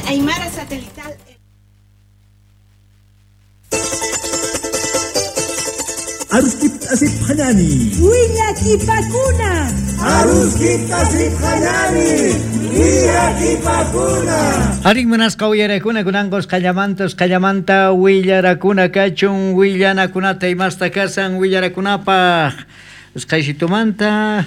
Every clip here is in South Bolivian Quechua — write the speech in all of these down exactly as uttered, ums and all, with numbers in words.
Aymara Satelital. Aruskip asip hanani. Willakipakuna. Aruskip asip hanani. Willakipakuna. Harik munasqa uyarakuna kunanqos qallamantos qallamanta willarakuna kachun willanakunata imasta kasan willarakunapaq usqaysitumanta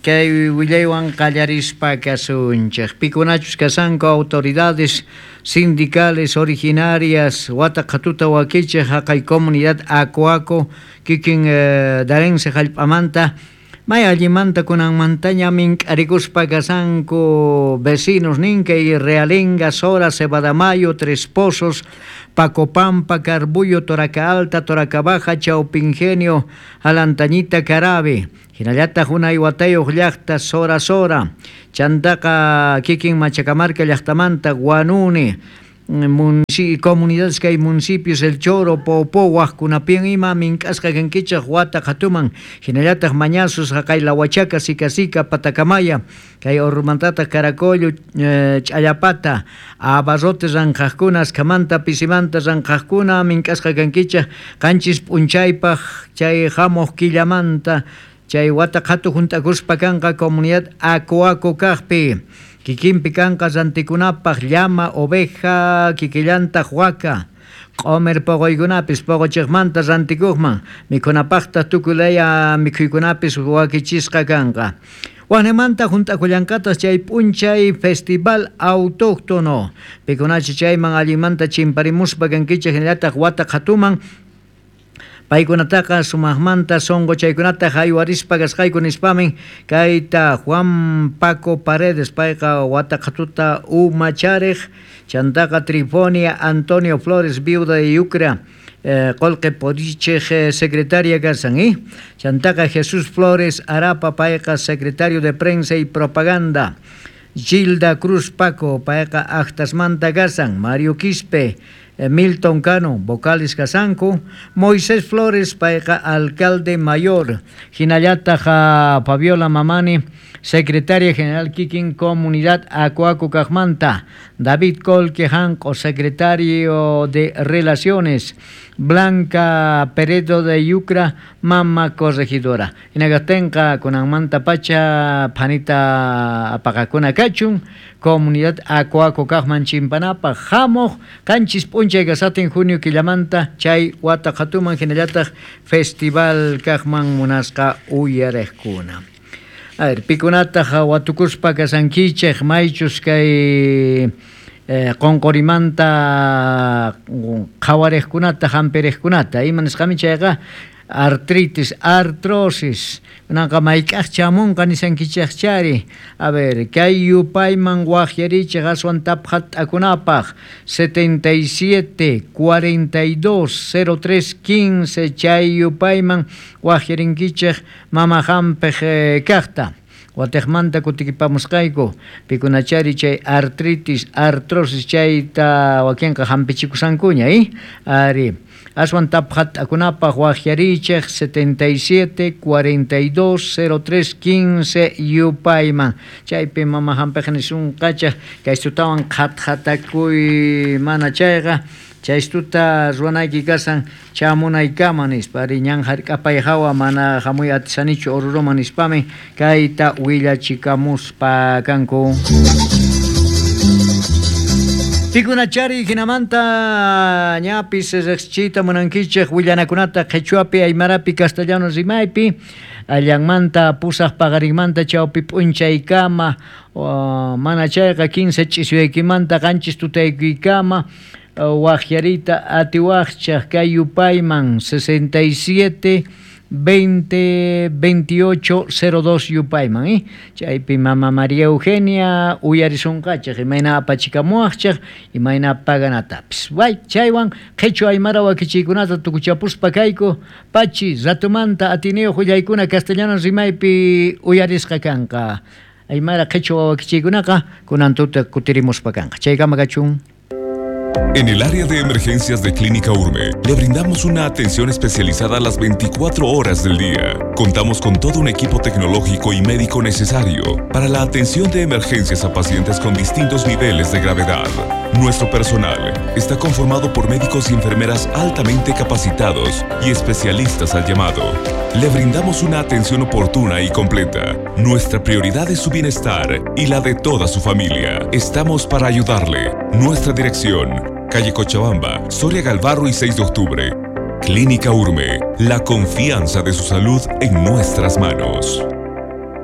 kay willaywan qallarispa kasunchik pikunachus kasanku autoridades sindicales originarias wata qhatuta wakichik haqay comunidad Aco Aco kikin eh, Darense hallp'amanta may allimanta kunanmantaña mink'arikuspa kasanku vecinos ninkay Realenga, Sora, Cebadamayo, Tres Pozos, Pacopampa, Carbullo, Toraca Alta, Toraca Baja, Chaupingenio, Alantañita, Carabe, hinallataq unay watayuq llaqta Sora Sora, chantaqa kikin Machacamarca llaqtamanta Guanuni, munci comunidades kay municipios El Choro, Popó, waqkunapin ima mink'asqa kankichaq wata qhatuman hinallataq mañasus haqay Lahuachaca, Sica Sica, Patacamaya, kay Ormantataq Caracollo, eh, Ch'allapata, abarrotes ranqhaqkuna, askhamanta pisimanta ranqhaqkuna mink'asqa kankichaq qanchis p'unchaypaq chay hamuq killamanta chay wata qhatu hunt'akuspa kanqa comunidad Aco Aco kaqpi kikinpi kanqa rantikunapaq llama, oveja, kikillantaq waka q'umir puquykunapis puquchiqmanta rantikuqman mikhunapaqtaq tukuylaya mikhuykunapis wakichisqa kanqa. Waqnimanta hunt'akullanqataq chay p'unchay festival autóctono pikunachi chayman allinmanta chimparimuspa kankichik hinallataq wata qhatuman paykunataqa sumaqmanta sunqu chaykunata haywarispa kasqayku nispamin kayta Juan Paco Paredes payqa wata qhatuta umachariq chantaqa Trifonia Antonio Flores viuda de Yucra eh, qolqe porichej eh, secretaria kasan eh? Chantaqa Jesús Flores Arapa payqa secretario de prensa y propaganda Gilda Cruz Paco payqa actasmanta kasan Mario Quispe Milton Cano, vocales kasanku, Moisés Flores, payqa alcalde mayor, hinallataq Fabiola Mamani, secretaria general kikin comunidad Aco Aco kaqmanta, David Colque Janco, secretario de Relaciones, Blanca Peredo de Yucra, mama corregidora. Hinagatenqa kunanmanta pacha phanita apaqakuna kachun, comunidad Aco Aco kaqman chimpanapaq hamuq qanchis p'unchay kasatin junio killamanta chay wata qhatuman hinallataq festival kaqman munasqa uyariqkuna. A ver, pikunataq watukuspa kasankichik maychus kay eh, qunqurimanta qhawariqkunata hampiriqkunata ima nisqami chayqa artritis, artrosis kunanqa mayk'aq chamunqa nisankichikchari a ver, kay yupayman waqyarichik aswan taphat'akunapaq setenta y siete, cuarenta y dos, cero tres, quince chay yupayman waqyarinkichik mama hampiq eh, kaqta watejmanta kutikipamusqayku pikunachari chay artritis, artrosis chayta wakinqa hampichikusankuña eh? Ari aswan taphat'akunapaq waqyarichik setenta y siete, cuarenta y dos, cero tres, quince yupayman chaypi mama hampiq nisunqachaq kaystutawan qhatqhatakuy mana chayqa chaystuta ruwanayki kasan chamunaykama nispa ari ñan hark'apay hawa mana hamuy atisanichu Oruroman nispami kayta willachikamuspa kanku. Pikunachari hinamanta ñapis riqsichiyta munankichik willanakunata qhichwapi aymarapi castellano rimaypi allanmanta pusaq paqarinmanta chawpi p'unchaykama uh, mana chayqa quince ch'isyaykimanta qanchis tutaykikama waqyarita atiwaqchaq kay yupayman sesenta y siete, veinte, veintiocho, cero dos yupayman eh? Chaypi mama María Eugenia uyarisunqachik imayna apachikamuwaqchik imayna paganatapis way chaywan qhichwa aymara wakichiykunata tukuchapuspa kayku pachi ratumanta atiniyuq willaykuna castellano rimaypi uyarisqa kanqa aymara qhichwa wakichiykunaqa kunan tuta kutirimuspa kanqa chaykama kachun. En el área de emergencias de Clínica Urme, le brindamos una atención especializada a las veinticuatro horas del día. Contamos con todo un equipo tecnológico y médico necesario para la atención de emergencias a pacientes con distintos niveles de gravedad. Nuestro personal está conformado por médicos y enfermeras altamente capacitados y especialistas al llamado. Le brindamos una atención oportuna y completa. Nuestra prioridad es su bienestar y la de toda su familia. Estamos para ayudarle. Nuestra dirección: calle Cochabamba, Soria Galvarro y seis de octubre. Clínica Urme, la confianza de su salud en nuestras manos.